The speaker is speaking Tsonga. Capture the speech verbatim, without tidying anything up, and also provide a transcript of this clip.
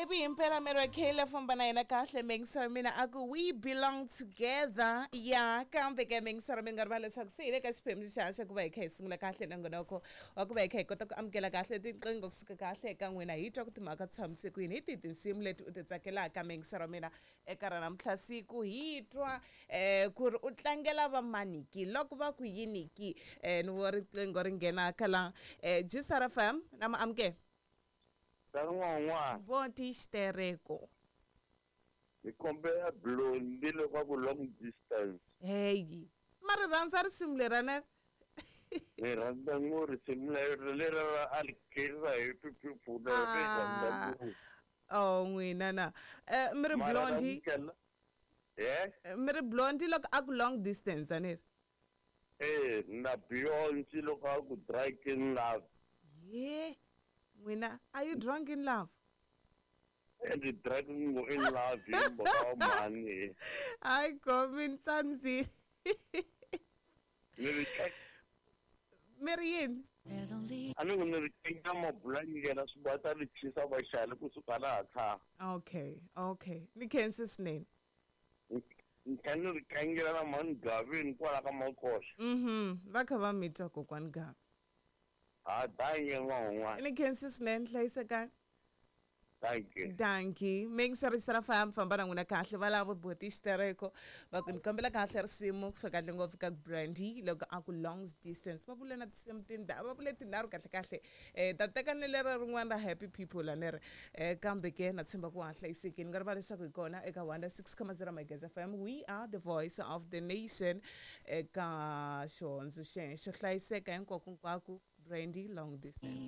Happy impela Mary Kayla famba na yena kahle mingisara mina a ku we belong together ya kambe ke mingisara mi nga rivala leswaku se hi le ka xiphemu xa xa ku va hi kha hi sungula kahle nongonoko wa ku va hi kha hi kota ku amukela kahle tinqingho kusuka kahle eka n'wina hi twa ku timhaka ti tshamise ku yini hi tihi tinsimu leti u ti tsakelaka mingisara mina eka ra namuntlha siku hi twa um ku ri u tlangela vamaniki loko va ku yini ki um ni vo riqingho ri nghena ka la um G S R F M na ma amukela. San'wan'wana. Voti xitereko. Hi kombela Blondie loko ku Long Distance. Heyi, ma ri rhandza risimu lerana? Hi rhandza ngo risimu leri leri ra a ri khensa hi pipipfuna ri rhandza Ah. ngopfu. Oh, n'wina na um mi ri Mara Blondie. namuntlha eh Mi ri Blondie loko a ku Long Distance, a ni ri? Eh, na Beyonce loko a ku Drunk in Love. Ye n'wina, are you drunk in love? And drunk in love hi mhaka wa mhani. Hayi gomi ni tsandzile. Ni ri Mi ri yini? A ni ku ni ri kenya mabulanyikela swi va ta ri chisa vaxali kusuka laha kha. okay okay ni khensi swinene. Ni kha ni ri kangela na mhani Gavini kwala ka Makoxa. mhm va kha va mi twa, kokwani Gavi. Ha, dankie n'wan'wana. Ni khensi swinene, hlayisekani. Dankie. Dankie mingisarisa fam famba na n'wina kahle va lava boti xitereko va ku ni kombela kahle risimu ku fika kahle ngopfu ka Brandy loko a ku Long Distance. Va vule na tinsimu tinda va vule tinharhu kahle kahle um ta teka ni lero rin'wana ra Happy People a ni ri um kambe ke na tshemba ku ha hlayisekile. Ni nga rivala leswaku hi kona eka one six zero Megahertz F M, we are the voice of the nation, eka xihondzo xexo hlayiseka hinkwako hinkwako. Brandy, Long Distance.